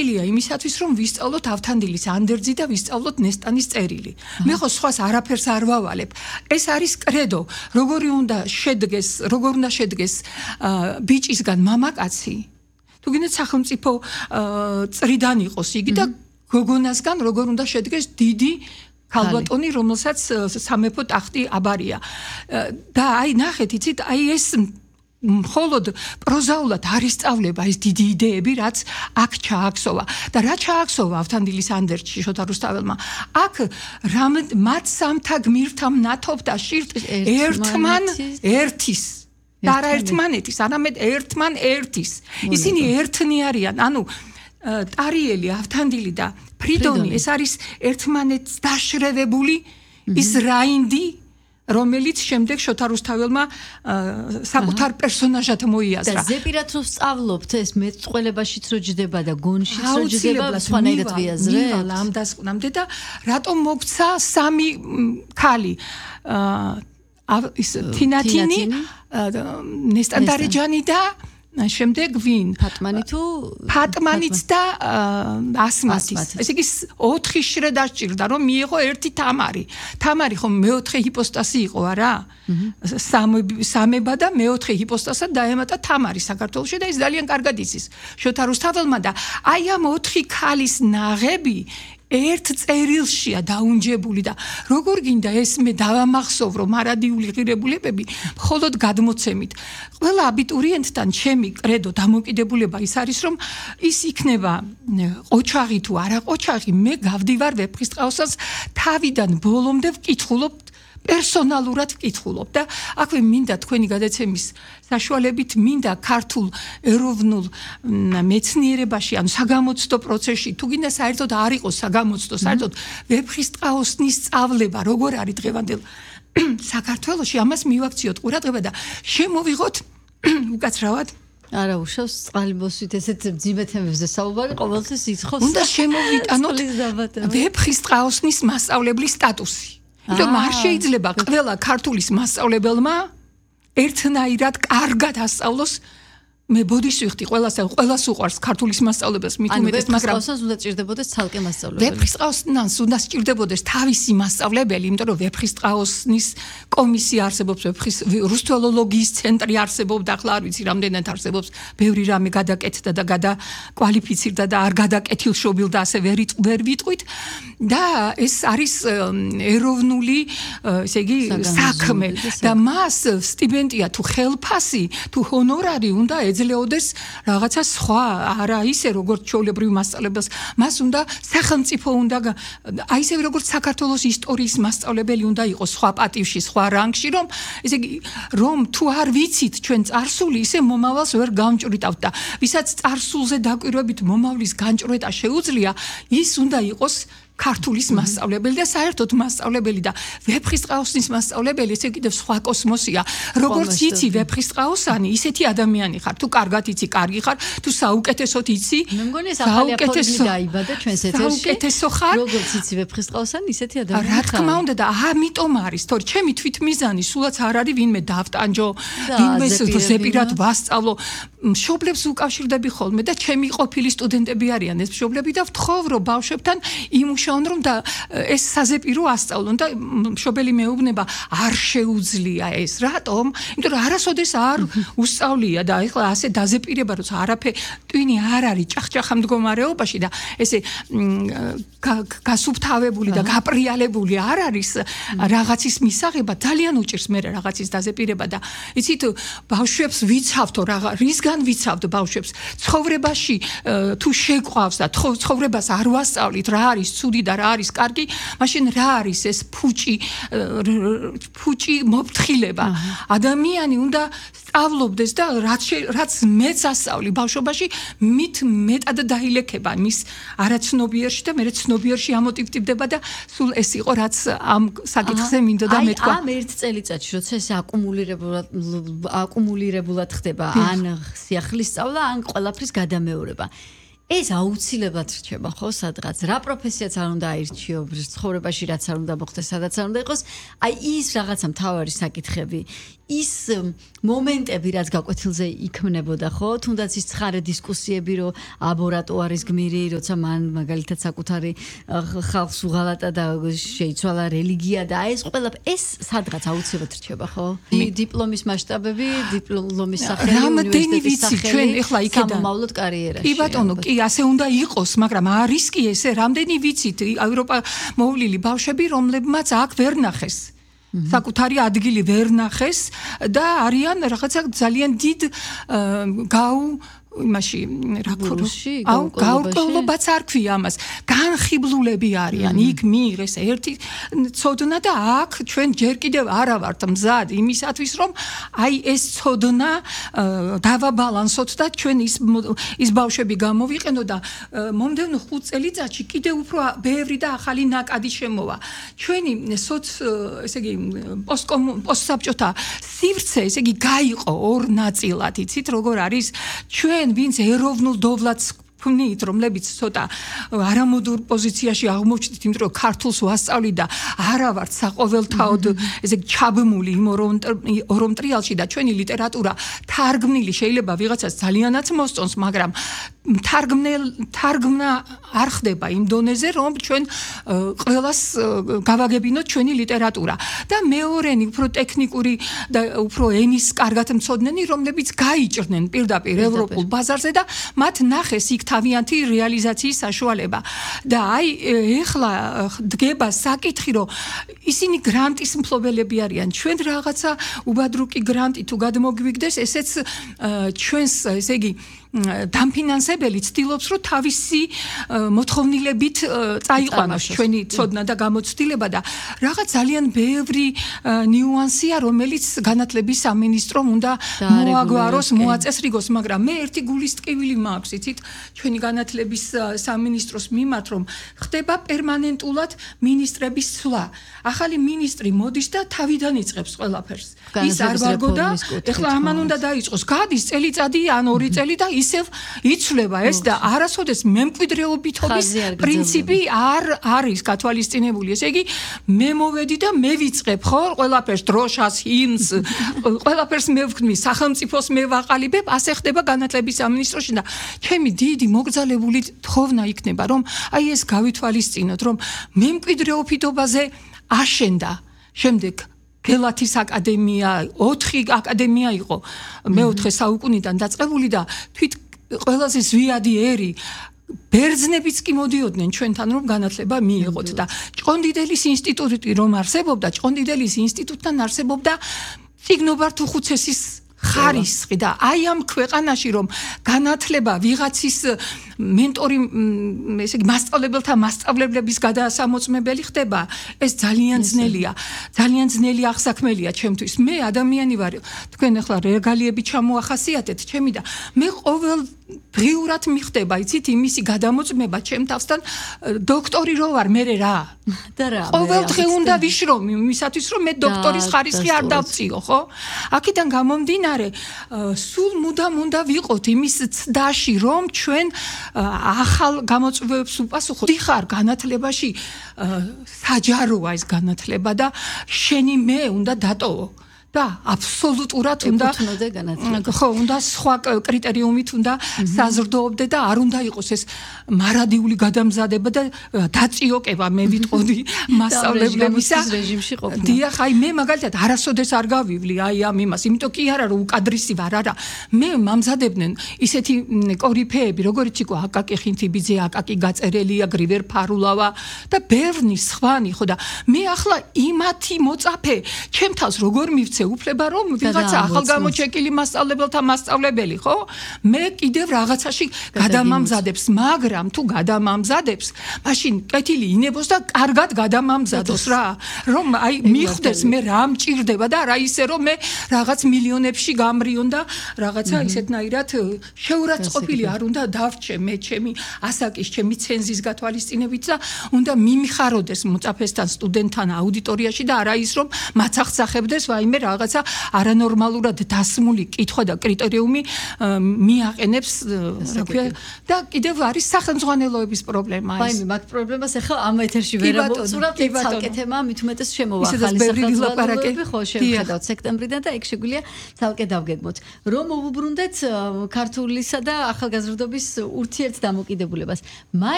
ილია იმისათვის რომ ვისწავლოთ ავთანდილის ანდერძი და ვისწავლოთ ნესტანის წერილი. მე ხო სხვას არაფერს არ ვავალებ. ეს არის კრედო, როგორ უნდა შედგეს ბიჭისგან მამაკაცი. თუ გინდათ სახელმწიფო წრიდან იყოს იგი და გოგონასგან როგორ უნდა შედგეს დიდი ქალბატონი, რომელსაც სამეფო ტახტი აბარია. და აი ნახეთ, იცით, აი ეს მხოლოდ პროზაულად არ ისწავლება ეს დიდი იდეები, რაც აქ ჩააქსოვა. და რა ჩააქსოვა ავთანდილის ანდერძში შოთა რუსთაველმა? აქ მათ სამთა გმირთა მნათობდა შირტყის ერთმან ერთის. და არა ერთმანეთის, არამედ ერთმან ერთის. ისინი ერთნი არიან, ანუ ტარიელი, ავთანდილი და ფრიდონი, ეს არის ერთმანეთს დაშრევებული ის რაინდი, რომელიც შემდეგ შოთა რუსთაველმა საკუთარ პერსონაჟად მოიაზრა. და ზეპირად რომ სწავლობთ ეს მეწყველებაშიც რო ჯდება და გონშიც რო ჯდება, სხვანაირად ვიაზრეთ. მივალ ამ დასკვნამდე და რატომ მოგცა სამი ქალი? ის თინათინი, ნესტანდარეჯანი და შემდეგ ვინ? ფატმანიც და ასმათის. ესე იგი 4 შრე დასჭირდა რომ მიიღო ერთი თამარი. თამარი ხომ მეოთხე ჰიპოსტასი იყო, არა? სამება და მეოთხე ჰიპოსტასად დაემატა თამარი საქართველოში და ის ძალიან კარგად იცის შოთა რუსთაველმა და აი ამ 4 ქალის ნაღები ერთ წერილშია დაუნჯებული და როგორ გინდა ეს მე დავამახსოვრო მარადიული ღირებულებები მხოლოდ გადმოცემით. ყველა აბიტურიენტთან ჩემი კრედო დამოკიდებულება ის არის რომ ის იქნება ყოჩაღი თუ არა ყოჩაღი, მე გავდივარ ვეფხისტყაოსანს თავიდან ბოლომდე ვკითხულობ პერსონალურად ვკითხულობ და აქვე მინდა თქვენი გადაცემის საშუალებით მინდა ქართულ ეროვნულ მეცნიერებაში ან საგამოცდო პროცესში თუ გინდა საერთოდ არ იყოს საგამოცდო საერთოდ ვეფხისტყაოსნის სწავლება როგორ არის დღევანდელ საქართველოში ამას მივაქციოთ ყურადღება და შემოვიღოთ უკაცრავად არა უშავს წყალბოსვით ესეთ ძიმე თემებზე საუბარი ყოველთვის იცხოვს უნდა შემოვიტანოთ ვეფხისტყაოსნის მასწავლებლის სტატუსი. იმიტომ არ შეიძლება ყველა ქართულის მასწავლებელმა ერთნაირად კარგად ასწავლოს. მე ბოდიშ ვიხდი ყველას უყვარს ქართულის მასწავლებელს მით უმეტეს, მაგრამ ვეფხისტყაოსანს უნდა სჭირდებოდეს ცალკე მასწავლებელი. ვეფხისტყაოსანს უნდა სჭირდებოდეს თავისი მასწავლებელი, იმიტომ რომ ვეფხისტყაოსნის კომისია არსებობს, რუსთველოლოგიის ცენტრი არსებობს, ახლა არ ვიცი რამდენად არსებობს, ბევრი რამე გადაკეთდა და გადაკვალიფიცირდა და არ გადაკეთილშობილ და ასე ვერ ვიტყვით და ეს არის ეროვნული, ესე იგი, საქმე და მას სტიპენდია თუ ხელფასი, თუ ჰონორარი უნდა ეძლეოდეს რაღაცა სხვა, არა ისე როგორც ჩვეულებრივ მასწავლებელს, მას უნდა სახელმწიფო უნდა აი ისე როგორც საქართველოს ისტორიის მასწავლებელი უნდა იყოს სხვა პატივში, სხვა რანგში, რომ ესე იგი რომ თუ არ ვიცით ჩვენ წარსული, ისე მომავალს ვერ გამჭვრიტავთ და ვისაც წარსულზე დაკვირვებით მომავლის განჭვრეტა შეუძლია, ის უნდა იყოს ქართულის მასწავლებელი და საერთოდ მასწავლებელი და ვეფხისტყაოსნის მასწავლებელი ესე კიდევ სხვა კოსმოსია. როგორც იცი ვეფხისტყაოსანი, ისეთი ადამიანი ხარ. თუ კარგად იცი, კარგი ხარ, თუ საუკეთესოდ იცი, მე მგონი ეს ახალი აფორიზმი დაიბადა ჩვენს ეთერში. საუკეთესო ხარ. როგორც იცი ვეფხისტყაოსანი, ისეთი ადამიანი ხარ. რა თქმა უნდა და ამიტომ არის, თორე ჩემი თვითმიზანი სულაც არ არის ვინმე დავტანჯო, ვინმე ზეპირად ვასწავლო. მშობლებს უკავშირდები ხოლმე და ჩემი ყოფილი სტუდენტები არიან ეს მშობლები და ვთხოვ რომ ბავშვებთან იმუშაონ რომ და ეს საზეპირო ასწავლონ და მშობელი მეუბნება არ შეუძლია ეს. რატომ? იმიტომ რომ არასოდეს არ უსწავლია და ეხლა ასე დაზეპირება როცა ტვინი არ არის ჭახჭახა მდგომარეობაში და ესე გასუფთავებული და გაპრიალებული არ არის რაღაცის მისაღება ძალიან უჭირს მე რაღაცის დაზეპირება და იცით ბავშვებს ვიცავთო რისგან ვიცავთ ბავშვებს ცხოვრებაში თუ შეყვავს და ცხოვრებას არ ვასწავლით რა არის ცუდი და რა არის კარგი მაშინ რა არის ეს ფუჭი მოფრთხილება ადამიანი უნდა სწავლობდეს და რაც მეც ასწავლი ბავშვობაში მით მეტად დაილექება მის არაცნობიერში და მე ცნობიერში ამოტივტივდება და სულ ეს იყო რაც ამ საკითხზე მინდოდა მეთქვა. ამ ერთ წელიწადში როცა ეს აკუმულირებულად ხდება ან სიახლის სწავლა ან ყველაფრის გადამეორება ეს აუცილებლად რჩება ხო სადღაც რა პროფესიაც არ უნდა აირჩიო ცხოვრებაში რაც არ უნდა მოხდეს სადაც არ უნდა იყოს აი ის რაღაცა მთავარი საკითხები ის მომენტები რაც გაკვეთილზე იქმნებოდა ხო თუნდაც ის ცხარე დისკუსიები რომ აბორატუარის გმირი როცა მან მაგალითად საკუთარი ხალხს უღალატა და შეიცვალა რელიგია და ეს ყველა ეს სადღაც აუცილებლად რჩება ხო დიპლომის მასშტაბები დიპლომის სახელი უნივერსიტეტის სახელი ეხლა იქიდან სამომავლოდ კარიერაში კი ბატონო კი ასე უნდა იყოს მაგრამ არის კი ესე რამდენი ვიცით ევროპა მოვლილი ბავშვები რომლებმაც აქ ვერ ნახეს საკუთარი ადგილი ვერ ნახეს და არიან რაღაცა ძალიან დიდ იმაში რა გაურკვევლობაც არ ქვია ამას განხიბლულები არიან იქ მიიღეს ერთი ცოდნა და აქ ჩვენ ჯერ კიდევ არა ვართ მზად იმისათვის რომ აი ეს ცოდნა დავაბალანსოთ და ჩვენ ის ბავშვები გამოვიყენო და მომდევნო 5 წელიწადში კიდევ უფრო ბევრი და ახალი ნაკადი შემოვა ჩვენი ესე იგი პოსტსაბჭოთა სივრცე ესე იგი გაიყო ორ ნაწილად იცით როგორ არის ჩვენ ვინც ეროვნულ დოვლათს ვნით რომლებიც ცოტა არამოდურ პოზიციაში აღმოჩნდით იმიტომ რომ ქართულს ვასწავლი და არა ვართ საყოველთაოდ ესე ჩაბმული იმ ორ მტრიალში და ჩვენი ლიტერატურა თარგმნილი შეიძლება ვიღაცას ძალიანაც მოსწონს მაგრამ თარგმნა არ ხდება იმ დონეზე რომ ჩვენ ყველას გავაგებინოთ ჩვენი ლიტერატურა და მეორენი უფრო ტექნიკური და უფრო ენის კარგად მცოდნენი რომლებიც გაიჭრნენ პირდაპირ ევროპულ ბაზარზე და მათ ნახეს იქ თავიანთი რეალიზაციის საშუალება და აი ეხლა დგება საკითხი რომ ისინი გრანტის მფლობელები არიან ჩვენ რაღაცა უბადრუკი გრანტი თუ გადმოგვიგდეს ესეც ჩვენს ესე იგი დამფინანსებელი ცდილობს რომ თავისი მოთხოვნილებით წაიყვანოს ჩვენი ცოდნა და გამოცდილება და რაღაც ძალიან ბევრი ნიუანსია რომელიც განათლების სამინისტრომ უნდა მოაგვაროს მოაწესრიგოს მაგრამ მე ერთი გულის ტკივილი მაქვს იცით ჩვენი განათლების სამინისტროს მიმართ რომ ხდება პერმანენტულად მინისტრების ცვლა ახალი მინისტრი მოდის და თავიდან იწყებს ყველაფერს ის არ ვარგო და ეხლა ამან უნდა დაიწყოს გადის წელიწადი ან 2 წელი და ისევ იცვლება ეს და არასოდეს მემკვიდრეობითობის პრინციპი არ არის გათვალისწინებული ესე იგი მე მოვედი და მე ვიწყებ ხო ყველაფერს დროშას ჰიმნს ყველაფერს მე ვქმნი სახელმწიფოს მე ვაყალიბებ ასე ხდება განათლების სამინისტროში და ჩემი დიდი მოგზალებული თხოვნა იქნება რომ აი ეს გავითვალისწინოთ რომ მემკვიდრეობითობაზე აშენდა შემდეგ გელათის აკადემია 4 აკადემია იყო მე-4 საუკუნიდან დაწყებული და თვით ყველაზე ზვიადი ერი ბერძნებიც კი მოდიოდნენ ჩვენთან რომ განათლება მიიღოთ და ჭყონდიდელის ინსტიტუტი რომ არსებობდა ჭყონდიდელის ინსტიტუტთან არსებობდა წიგნობართუხუცესის ხარისხი და აი ამ ქვეყანაში რომ განათლება ვიღაცის მენტორი ესე იგი მასწავლებელთა მასწავლებლების გადასამოწმებელი ხდება ეს ძალიან ძნელი აღსაქმელია ჩემთვის მე ადამიანი ვარ თქვენ ახლა რეგალიები ჩამოახასიათეთ ჩემი და მე ყოველ დღიურად მიხდება იცით იმისი გადამოწმება ჩემ თავსთან დოქტორი რო ვარ მე რა და რა ყოველ დღე უნდა ვიშრომ იმისათვის რომ მე დოქტორის ხარისხი არ დავწიო ხო აქედან გამომდინარე სულ მუდამ უნდა ვიყოთ იმის ცდაში რომ ჩვენ ახალ გამოწვევებს უპასუხოთ დიხარ განათლებაში საჯაროა ეს განათლება და შენი მე უნდა დატოვო და აბსოლუტურად უნდა ხო უნდა სხვა კრიტერიუმით უნდა საზრდოობდე და არ უნდა იყოს ეს მარადიული გადამზადება და დაწიოკება მე ვიტყოდი მასწავლებლებისა რეჟიმში ყოფნა დიახ აი მე მაგალითად არასოდეს არ გავივლი აი ამ იმას იმიტომ კი არა რომ უკადრისი ვარ არა მე მამზადებდნენ ისეთი კორიფეები როგორიც იყო აკაკი ხინთიბიძე აკაკი გაწერელია გრივერ ფარულავა და ბევრი სხვანი ხო და მე ახლა იმათი მოწაფე ჩემთავს როგორ მივცე უფლება რომ ვიღაცა ახალ გამოჩეკილი მასწავლებელთა მასწავლებელი ხო მე კიდევ რაღაცაში გადამამზადებს მაგრამ თუ გადამამზადებს მაშინ კეთილი ინებოს და კარგად გადამამზადოს რა რომ აი მიხვდეს მე რა მჭირდება და რა ისე რომ მე რაღაც მილიონებში გამრიონ და რაღაცა ისეთნაირად შეურაცხყოფილი არ უნდა დავრჩე მე ჩემი ასაკის ჩემი ცენზის გათვალისწინებით და უნდა მიმიხაროდეს მოწაფესთან სტუდენტთან აუდიტორიაში და არა ის რომ მაცახცახებდეს ვაიმე რაღაცა არანორმალურად დასმული კითხვა და კრიტერიუმი მიაყენებს რა ქვია და კიდევ არის სახელმძღვანელოების პრობლემა ეს. აი, მაგ პრობლემას ახლა ამ ეთერში ვერ ამოვწურავთ, ცალკე თემა მით უმეტეს შემოვა ახალი სახელმძღვანელოები, ხო შევხედავთ სექტემბრიდან და ეგ შეგვიძლია ცალკე დავგეგმოთ. რომ მოვუბრუნდეთ ქართულისა და ახალგაზრდობის ურთიერთდამოკიდებულებას.